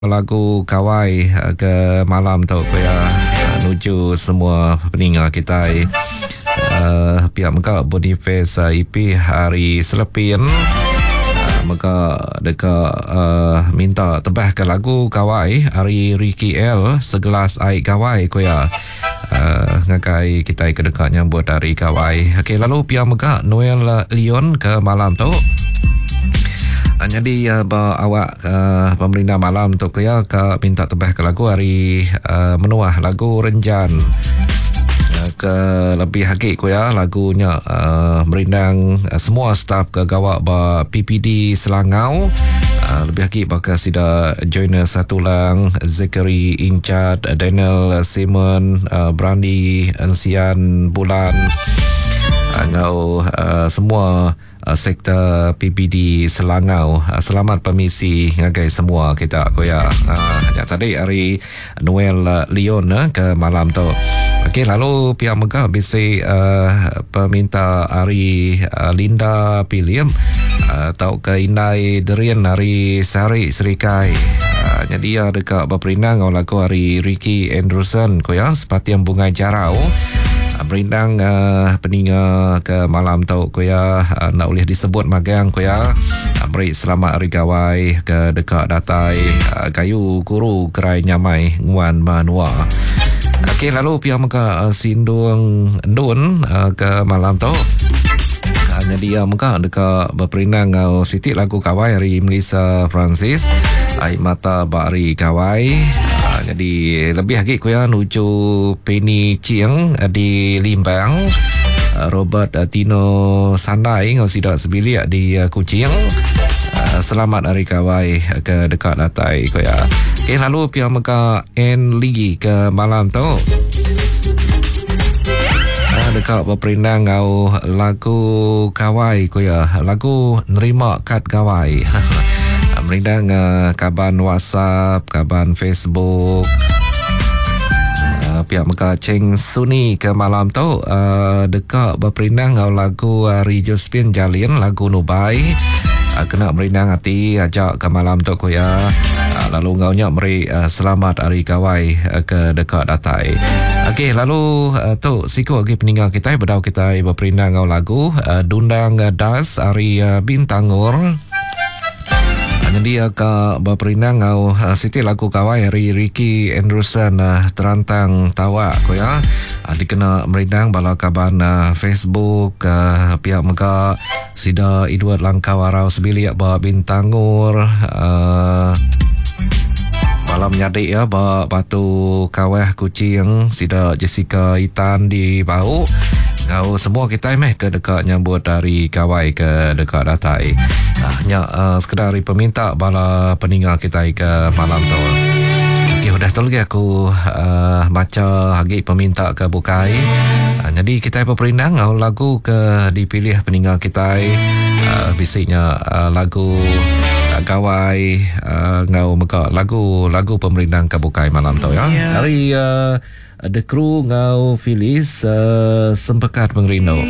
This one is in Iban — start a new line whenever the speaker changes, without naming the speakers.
Lagu Gawai ke malam tu ku iya nuju semua peninga kitai uhh pia mega Boniface EP ari Selepin mega deka uhh minta tebah ke lagu Gawai ari Ricky El Segelas Ai Gawai ku iya uhh ngagai kitai ke deka nyambut hari Gawai. Okey lalu pia mega Noel Leon ke malam tu. Nyadi ba awak pemerindang malam tu ku iya ka minta tebah ke lagu ari menuah lagu Renjan ke lebih agi ku iya lagu nya merindang semua staf ke gawa ba PPD Selangau lebih agi baka sida Joiner Satulang, Zachary Inchat, Daniel Simon, Brandi Ensian Bulan enggau semua Sektor PBD Selangau. Selamat pemisi ngagai semua kita ku iya. Nya tadi ari Noel Leon ke malam tu. Okey lalu pia mega bisi peminta ari Linda Pilim tauka Indai Derin ari Sari Serikai. Nyadi iya deka beperindang enggau lagu ari Ricky Andrewson ku iya Sepating Bungai Jarau. Merindang peninga ke malam tu ku iya enda ulih disebut magang ku iya meri selamat hari gawai ke deka datai gayu guru gerai nyamai nguan menua. Okey lalu pia mega sindung endun ke malam tu nyadi iya mega deka beperindang enggau siti lagu gawai ari Melissa Francis Ai Mata Ba Hari Gawai. Nyadi lebih agi ku iya nuju Penny Ching di Limbang, Robert Tino Sandai enggau sida sebilik di Kuching. Selamat Hari Gawai ke deka datai ku iya. Okey lalu pia mega Ann Lee ke malam tu. Deka beperindang enggau lagu gawai ku iya. Lagu nerima kad gawai. Merindang kaban WhatsApp, kaban Facebook. Pia mega Cheng Suni ke malam tu deka beperindang enggau lagu ari Josephine Jalin, lagu Nubai. Kena merindang ati aja ke malam tu ku iya. Lalu enggau nya meri selamat hari gawai ke deka datai. Okey lalu tu siku agi peninga kitai bedau kitai beperindang enggau lagu Dundang Das ari Bintangor. Nyendia ka beperindang enggau siti lagu gawai ari Ricky Andrewson Terantang Tawak ku iya dikena merindang bala kaban Facebook pia mega sida Edward Langkau Arau sebilik ba Bintangor bala menyadi iya ba Batu Kawah Kuching sida Jessica Itan di Bau enggau semua kitai meh ke deka nyambut hari gawai ke deka datai. Ah, nya uh, sekedar ari peminta bala peninga kitai ke malam tu. Okey, udah tu lagi aku uh, baca agi peminta ke bukai. Uh, jadi kitai beperindang ngau lagu ke dipilih peninga kitai uh, bisi nya uh, lagu uh, gawai uh, ngau mega lagu-lagu pemerindang ke bukai malam tu ya. Hari uh, The Crew ngau Phyllis uh, Sempekat Pengerindu.